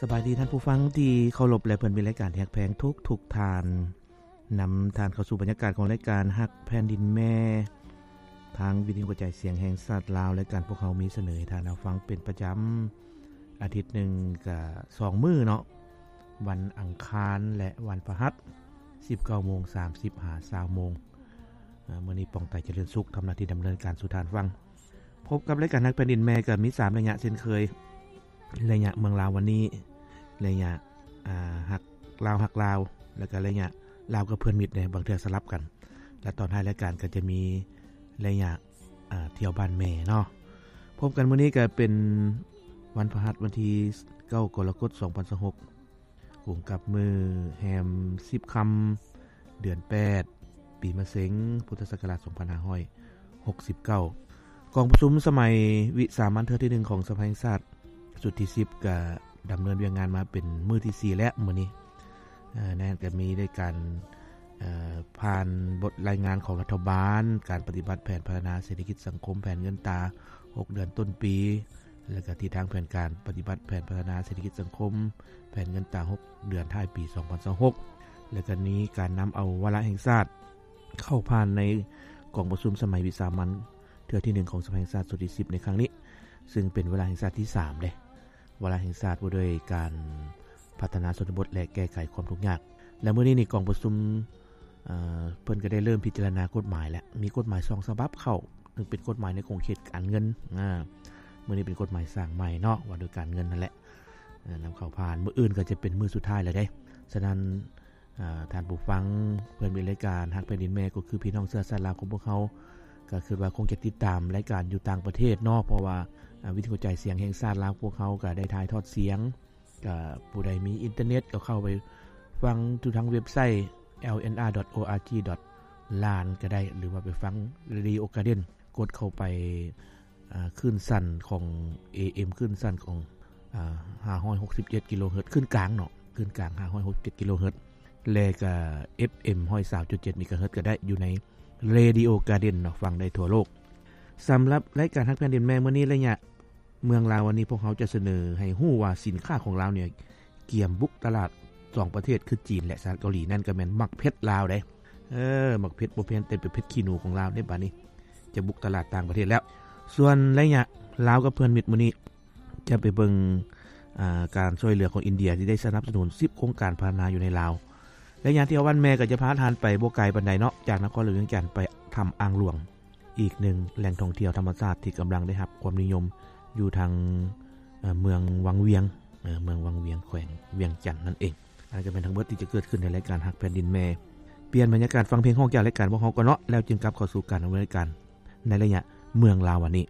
ສະບາຍດີທ່ານຜູ້ຟັງທີ່ເຄົາລົບ ແລະ ເພື່ອນມິດລາຍການທີ່ຮັກແພງທຸກໆທ່ານ. ນຳທ່ານເຂົ້າສູ່ບັນຍາກາດຂອງລາຍການຮັກແຜ່ນດິນແມ່ ທາງວິທະຍຸກະຈາຍສຽງແຫ່ງຊາດລາວ. ລາຍການພວກເຮົາມີສະເໜີໃຫ້ທ່ານຮັບຟັງເປັນປະຈຳ ອາທິດໜຶ່ງກະສອງມື້ເນາະ, ວັນອັງຄານ ແລະ ວັນພະຫັດ ສິບເກົ້າໂມງສາມສິບຫາຊາວໂມງ. ເອີ ມື້ນີ້ ປອງໄຕ ຈະເລີນສຸກ ທຳໜ້າທີ່ດຳເນີນການສູ່ທ່ານຟັງ. ພົບກັບລາຍການຮັກແຜ່ນດິນແມ່ ກໍມີສາມໄລຍະເຊັ່ນເຄີຍ, ໄລຍະເມືອງລາວວັນນີ້, ໄລຍະ ອ່າ ຮັກລາວ ຮັກລາວ ແລ້ວກໍໄລຍະລາວກັບເພື່ອນມິດເດ້, ບາງເທື່ອສະຫຼັບກັນ. ແລະ ຕອນທ້າຍລາຍການກໍຈະມີໄລຍະ ອ່າ ທ່ຽວບ້ານແມ່ເນາະ. ພົບກັນມື້ນີ້ກໍເປັນວັນພະຫັດ ວັນທີເກົ້າ ກໍລະກົດ ສອງພັນຊາວຫົກ ກົງກັບມື້ແຮມສິບຄ່ຳ ເດືອນແປດ ປີມະເສັງ ພຸດທະສັກກະລາດ ສອງພັນຫ້າຮ້ອຍຫົກສິບເກົ້າ. ກອງປະຊຸມສະໄໝວິສາມັນເທື່ອທີໜຶ່ງຂອງສະພາແຫ່ງຊາດ ຊຸດທີສິບ ກະດຳເນີນວຽກງານມາເປັນມື້ທີສີ່ແລ້ວມື້ນີ້. ເອີ ໃນນັ້ນກະມີໄດ້ການ ເອີ ຜ່ານບົດລາຍງານຂອງລັດຖະບານ, ການປະຕິບັດແຜນພັດທະນາເສດຖະກິດສັງຄົມ, ແຜນເງິນຕາຫົກເດືອນຕົ້ນປີ ແລະ ກະທິດທາງແຜນການປະຕິບັດແຜນພັດທະນາເສດຖະກິດສັງຄົມ, ແຜນເງິນຕາຫົກເດືອນທ້າຍປີ ສອງພັນຊາວຫົກ ແລະ ກະມີການນຳເອົາວາລະແຫ່ງຊາດເຂົ້າຜ່ານໃນກອງປະຊຸມສະໄໝວິສາມັນເທື່ອທີໜຶ່ງຂອງສະພາແຫ່ງຊາດຊຸດທີສິບໃນຄັ້ງນີ້, ຊຶ່ງເປັນວາລະແຫ່ງຊາດທີສາມເດ້. ວາລະແຫ່ງຊາດວ່າດ້ວຍການພັດທະນາຊົນນະບົດ ແລະ ແກ້ໄຂຄວາມທຸກຍາກ. ແລະ ມື້ນີ້ນີ້ກອງປະຊຸມ ເອີ ເພິ່ນກໍໄດ້ເລີ່ມພິຈາລະນາກົດໝາຍແລ້ວ, ມີກົດໝາຍສອງສະບັບເຂົ້າ, ໜຶ່ງເປັນກົດໝາຍໃນຂົງເຂດການເງິນ, ອາ ມື້ນີ້ເປັນກົດໝາຍສ້າງໃໝ່ເນາະ ວ່າດ້ວຍການເງິນຫັ້ນແຫຼະ, ນຳເຂົ້າຜ່ານ. ມື້ອື່ນກໍຈະເປັນມື້ສຸດທ້າຍແລ້ວເດ້. ສະນັ້ນ ອາ ທ່ານຜູ້ຟັງ ເພື່ອນມິດລາຍການຮັກແຜ່ນດິນແມ່ ກໍຄືພີ່ນ້ອງເຊື້ອຊາດລາວຂອງພວກເຮົາ ກໍຄິດວ່າຄົງຈະຕິດຕາມລາຍການຢູ່ຕ່າງປະເທດເນາະ, ເພາະວ່າ ອາ ວິທະຍຸກະຈາຍສຽງແຫ່ງຊາດລາວພວກເຮົາກໍໄດ້ຖ່າຍທອດສຽງ, ກໍຜູ້ໃດມີອິນເຕີເນັດກໍເຂົ້າໄປຟັງຢູ່ທາງເວັບໄຊ ແອລເອັນອາ ດອດ ໂອອາຈີ ດອດ ລານ ກໍໄດ້ ຫຼືວ່າໄປຟັງ ເຣດິໂອກາເດັນ ກົດເຂົ້າໄປ ອ່າ ຄື້ນສັ້ນຂອງ ເອເອັມ ຄື້ນສັ້ນຂອງ ອ່າ ຫ້າຮ້ອຍຫົກສິບເຈັດກິໂລເຮີດ ຄື້ນກາງເນາະ, ຄື້ນກາງ ຫ້າຮ້ອຍຫົກສິບເຈັດກິໂລເຮີດ ແລະ ກະ ເອັບເອັມ ຮ້ອຍຊາວຈຸດເຈັດເມກາເຮີດ ກໍໄດ້ຢູ່ໃນ ເຣດິໂອກາເດັນເນາະ, ຟັງໄດ້ທົ່ວໂລກ. ສຳລັບລາຍການຮັກແຜ່ນດິນແມ່ມື້ນີ້ ໄລຍະເມືອງລາວວັນນີ້ ພວກເຮົາຈະສະເໜີໃຫ້ຮູ້ວ່າສິນຄ້າຂອງລາວນີ້ ກຽມບຸກຕະຫຼາດສອງປະເທດ ຄືຈີນ ແລະ ສະຫະລັດເກົາຫຼີ, ນັ້ນກໍແມ່ນໝາກເຜັດລາວເດ້. ເອີ ໝາກເຜັດບໍ່ແມ່ນແຕ່ເປັນເຜັດຂີ້ໜູຂອງລາວເດ້, ບາດນີ້ຈະບຸກຕະຫຼາດຕ່າງປະເທດແລ້ວ. ສ່ວນໄລຍະລາວກັບເພື່ອນມິດມື້ນີ້ ຈະໄປເບິ່ງ ອ່າ ການຊ່ວຍເຫຼືອຂອງອິນເດຍ ທີ່ໄດ້ສະໜັບສະໜູນສິບໂຄງການພັດທະນາຢູ່ໃນລາວ. ໄລຍະທ່ຽວບ້ານແມ່ກໍຈະພາທ່ານໄປບໍ່ໄກປານໃດເນາະ, ຈາກນະຄອນຫຼວງວຽງຈັນໄປຖ້ຳອ່າງຫຼວງ. ອີກໜຶ່ງແຫຼ່ງທ່ອງທ່ຽວທຳມະຊາດທີ່ກຳລັງໄດ້ຮັບຄວາມນິຍົມຢູ່ທາງ ເອີ ເມືອງວັງວຽງ, ເອີ ເມືອງວັງວຽງ ແຂວງວຽງຈັນນັ້ນເອງ. ອັນນັ້ນກໍແມ່ນທັງເບິດທີ່ຈະເກີດຂຶ້ນໃນລາຍການຮັກແຜ່ນດິນແມ່. ປ່ຽນບັນຍາກາດຟັງເພງຮ້ອງຈາກລາຍການພວກເຮົາກ່ອນເນາະ, ແລ້ວຈຶ່ງກັບເຂົ້າສູ່ການດຳເນີນລາຍການໃນໄລຍະເມືອງລາວວັນນີ້.